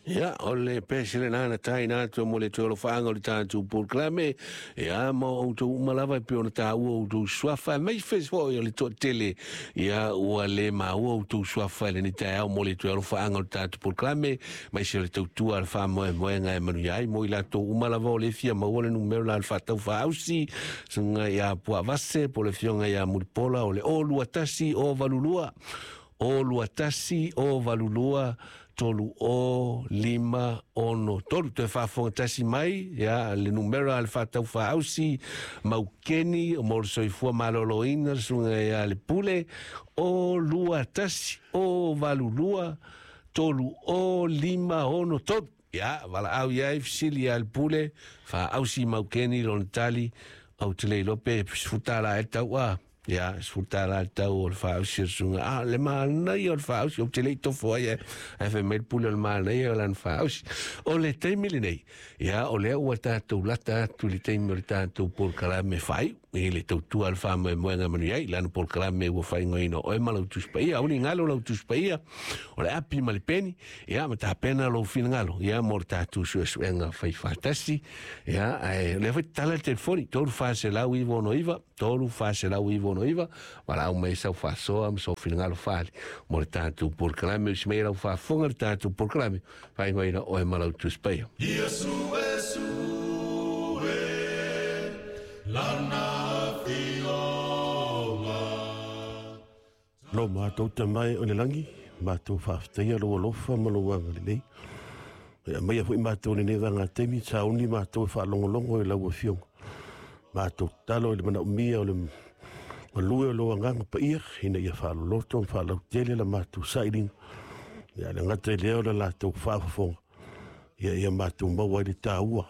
Ia, o le pese lena na taina atu mo le toe alofaaga o le tatou polokalame. Ia, ma o outou uma lava e pei ona taua outou suafa, aemaise foi o le toatele, ia, ua le maua outou suafa i lenei taeao mo le toe alofaaga o le tatou polokalame, aemaise o le tautua a le faamoemoega e manuia ai mo i latou uma lava o le fia maua le numera la le faatau faaausi, susuga ia Puavase po o le afioga ia Mulipola o le 021 082 021 082 3 o 5 6 3. Toe faafofoga tasi mai, ia, le numera a le faatau faaausi Maukeni o mo le soifua maloloina le susuga ia Le Pule, o 2 1 o 8 2 3 o 5 6 3. Ia, valaau i ai, fesili ia Le Pule, faaausi Maukeni lona tali, ou te le iloa pe $10 e tau a. Ia, $10 le tau o le faaausi o le susuga. A, le manaia o le faaausi, ou te le i tofo ai, ae fai mai le Pule o le manaia o lana faaausi. O le taimi lenei, ia, o lea ua tatou lata atu i le taimi o le tatou polokalame faaiu, i le tautua a le faamoemoega manuia ai, lana polokalame ua faaigoaina o oe ma lau Tusi Paia. Aua ne i galo lau Tusi Paia, o le api ma le peni, ia, ma tapena lou finagalo, ia, mo le tatou suesuega faifaatasi. Ia, ae o lea foi tatala le telefoni, 3 4 9 6 9, 3 4 9 6 9, valaau mai sau faasoa ma sou finagalo faali mo le tatou polokalame. Usi mai lau faafofoga le tatou polokalame faaigoaina oe ma lau Tusi Paia. Ia suesue lana afioga. Lo matou Tama e o le lagi, matou faafetaia lou alofa ma lou agalelei. E aumaia foi matou i lenei vaega taimi, sauni matou e faalogologo i lau Afioga. Matou tatalo i le manaomia o le galue o lou Agaga Paia, ina ia faaloloto ma faalautele la matou sailiga. Ia le gata i lea o le latou faafofoga, ia ia matou maua ai le taua,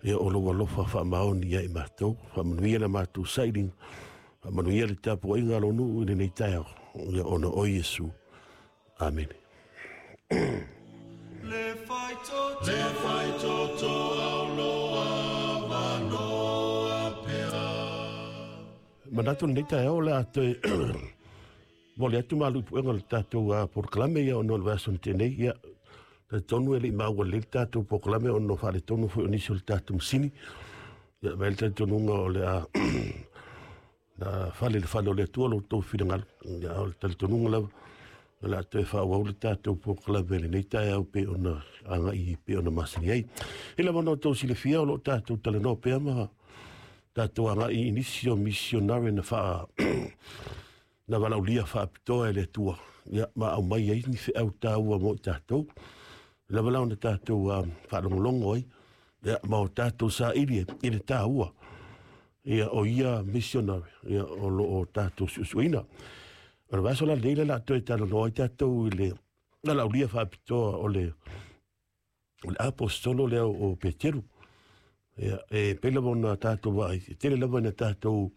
ia o lou alofa faamaoni ia i matou. Faamanuia la matou sailiga, faamanuia le tapuaiga a lou nuu i lenei taeao, ia ona o Iesu. Amene. Le faitoto, le faitoto auloa vanoa pea. Manatu lenei taeao o le a toe momoli atu malu i puega o le tatou polokalame ia ona o le vaiaso na tea nei. Ia, talitonu e le i maua lelei le tatou polokalame ona o faaletonu foi o nisi o le tatou masini. Ia, avea le talitonuga o le a na fale i le fale o le Atua lo outou finagalo. Ia, o le talitonuga lava o le a toe faaauau le tatou polokalame i lenei taeao pei ona agai pei ona masani ai. I lava ona outou silafia o lo o tatou talanoa pea ma tatou agai i nisi o misionare na faa na valaaulia faapitoa e le Atua, ia, ma aumai ai ni feau taua mo i tatou. Lava la ona tatou faalogologo ai, ia, ma o tatou saili i le taua, ia, o ia missionary, ia, o lo o tatou suesueina. O le vaiaso la lenei le a toe talanoa ai tatou i le valaaulia faapitoa o le aposetolo lea o Peteru. Ia, e pei lava ona tatou vaai, e tele lava ina tatou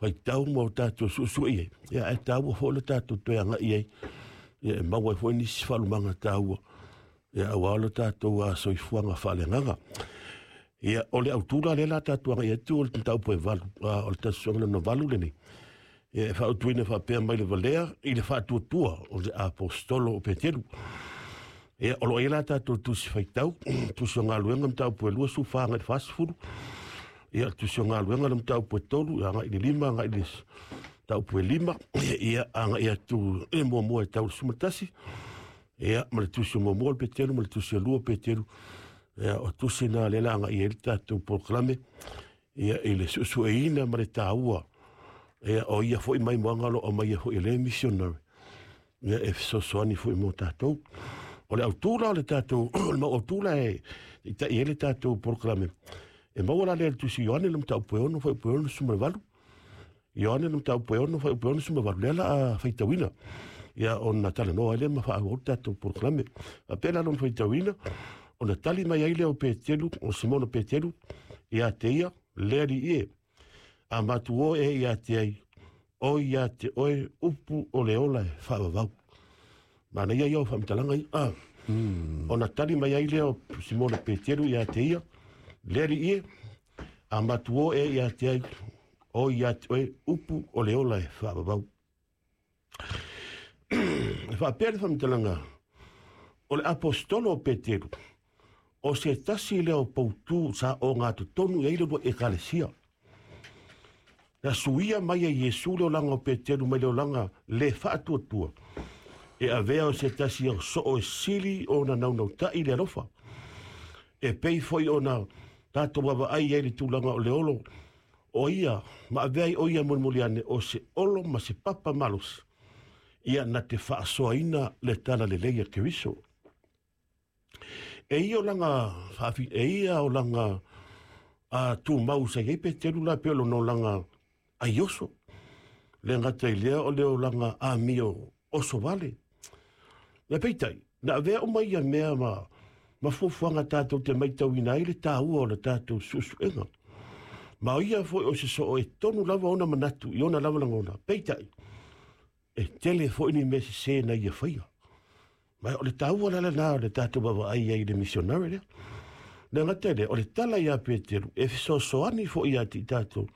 faitau ma o tatou suesue i ai, ia, ae taua foi le tatou toe agai i ai, ia, e maua ai foi nisi faalumaga taua, ia, aua lo tatou soifuaga faaleagaga. Ia, o le autu la lea la tatou agai atu o le mataupu e 8, o le tasi lona 8 lenei. Ia, e fautuaina faapea mai le valea i le faatuatua o le aposetolo o Peteru. Ia, o lo o i ai la tatou tusi faitau, tusi o galuega mataupu e 24 agai i le 40. Ia, le tusi o galuega le mataupu e 3 agai i le 5 agai i le mataupu e 5. Ia, agai atu e muamua e tau le 11. Ia, ma le tusi o muamua o le Peteru ma le tusi o lua o Peteru. Ia, o tusi na lea la agai ai le tatou polokalame, ia, i le suesueina ma le taua, ia, o ia foi maimoaga o lo o aumaia foi e le missionary, ia, e fesoasoani foi mo tatou. O le autu la o le tatou, o le mau autu la e taitai ai le tatou polokalame, e maua la lea i le tusi Ioane le mataupu e 6 fuaiupu e 68. Ioane le mataupu e 6 fuaiupu e 68, lea la a faitauina, ia, ona talanoa ai lea ma faaauau le tatou polokalame. Faapea la lona faitauina, ona tali mai ai lea o Peteru, o Simono Peteru, ia te ia, le Alii e, a matuo e ia te ai, o ia te oe upu o le ola e faavavau. Manaia ia o faamatalaga ia. Ona tali mai ai lea o Simono Peteru ia te ia, le Alii e, a matuo e ia te ai, o ia te oe upu o le ola e faavavau. E faapea le faamatalaga O le aposetolo o Peteru, o se tasi lea o poutu sa ogatotonu i ai le uluai Ekalesia. Na suia mai e Iesu le olaga o Peteru mai le olaga le faatuatua e avea o se tasi o soo e sili ona naunautai i le alofa. E pei foi ona tatou vaavaai i ai i le tulaga o le olo o ia ma avea ai o ia mulimuli ane o se olo ma se papa malosi ia na te faasoaina le talalelei a Keriso. E ia olaga faafi, e ia olaga a tumau sa i ai Peteru la pei o lona olaga aioso. Le gata i lea o le olaga amio oso vale. Me peitai, na avea uma ia mea ma fuafuaga tatou te maitauina ai le taua o le tatou suesuega. Ma o ia foi o se soo e tonu lava ona manatu i ona lava lagona. Peitai, e tele foi ni mea sesē na ia faia. Ma o le taua la lena o le tatou vaavaai ai i le misionare lea. Le gata i lea, o le tala ia Peteru e fesoasoani foi ia te i tatou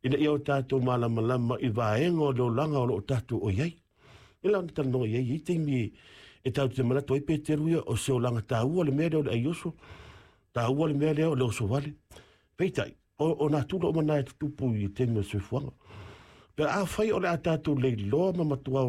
ina ia o tatou malamalama i vaega o le olaga o lo o tatou o i ai. E la ona talanoa i ai, i taimi e tatou te manatu ai Peteru ia o se olaga taua le mea lea o le aioso, taua le mea lea o le oso vale. Peitai, o nā tula uma na e tutupu i le taimi o le soifuaga. Pe afai o le a tatou leiloa ma matua